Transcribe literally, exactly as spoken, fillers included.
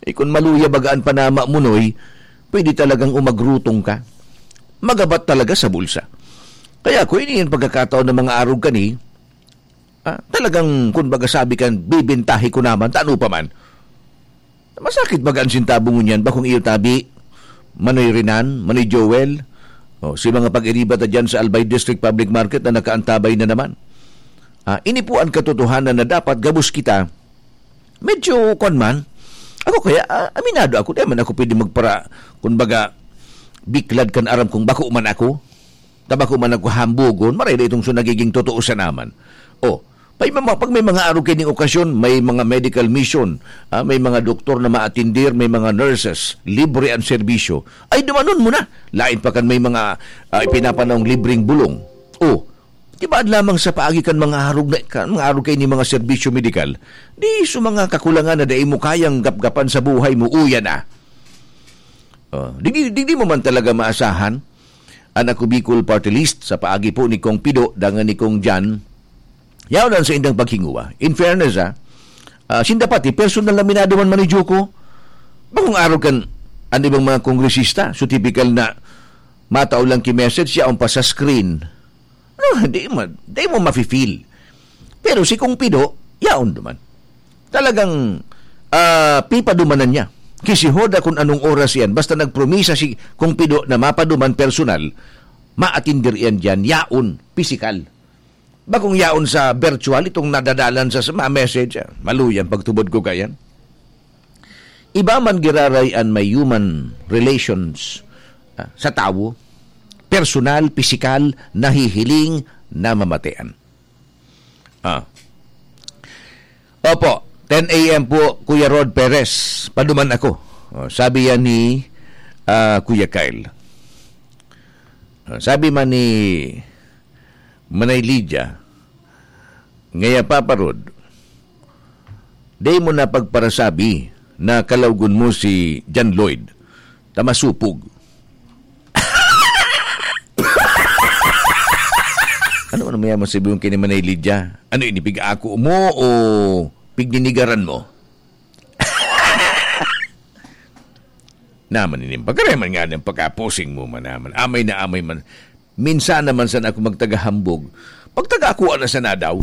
Eh, kun maluya baga an panama mo, Noy, pwede talagang umagrutong ka. Magabat talaga sa bulsa. Kaya kun ini an pagkakataon na mga arog kani, ah, talagang, kun baga sabi kan, bibentahi ko naman, tano pa man. Masakit baga an sentabo ngunyan, bakong iyo tabi, Manoy Renan, Manoy Joel, o, si mga pag-iriba ta dyan sa Albay District Public Market na nakaantabay na naman. Ah, ini po ang katotohanan na dapat gabos kita. Medyo, kwan man, ako kaya, ah, aminado ako, di man ako pwede magpara, kun baga, biklad kan aram kung bako man ako, ta bako man ako hambugon, maray na itong so nagiging totoo sa naman. O, may mga, pag may mga arog kaining okasyon, may mga medical mission, ah, may mga doktor na maatindir, may mga nurses, libre ang serbisyo, ay dumanon mo na. Lain pa kan may mga, ah, ipinapanahong libreng bulong. O, di ba lamang sa paagi kan mga arog na, kan mga arog kaining mga serbisyo medikal, di so mga kakulangan na dai mo kayang gapgapan sa buhay mo, uya na. O, di, di, di, di mo man talaga maasahan an Ako Bicol Party List sa paagi po ni Kong Pido dangan ni Kong Jan. Yaon ang sa indang paghinguwa. In fairness, ah, ah, sinda pati, personal na minado man man ni Joko. Bakong arog kan an ibang mga kongresista, so typical na matao lang ki-message, yaon pa sa screen. No, di mo, di mo mafe-feel. Pero si Kong Pido, yaon duman. Talagang, ah, pipadumanan niya. Kisihoda kung anong oras yan. Basta nagpromisa si Kong Pido na mapaduman personal, maatindir yan dyan, yaon, pisikal. Bakong yaon sa virtual, itong nadadalan sa, sa mga message, ah, maluyan pagtubod ko kayan. Iba man giraray an may human relations, ah, sa tawo, personal, pisikal, nahihiling, namamatean. Ah. Opo, ten a m po, Kuya Rod Perez, paduman ako. Oh, sabi yan ni, ah, Kuya Kyle. Ah, sabi man ni Manay Lydia, ngaya, Papa Rod, dai mo na pagparasabi na kalawgon mo si John Lloyd, ta masupog. Ano, ano mo yan masabi yung kini Manay Lydia? Ano, inipig-ako mo o pigninigaran mo? Naman ini, pagkareman nga ng pagkapusing mo man naman. Amay na amay man. Minsan naman sana ako magtagahambog. Pagtaga ako, ano sana daw?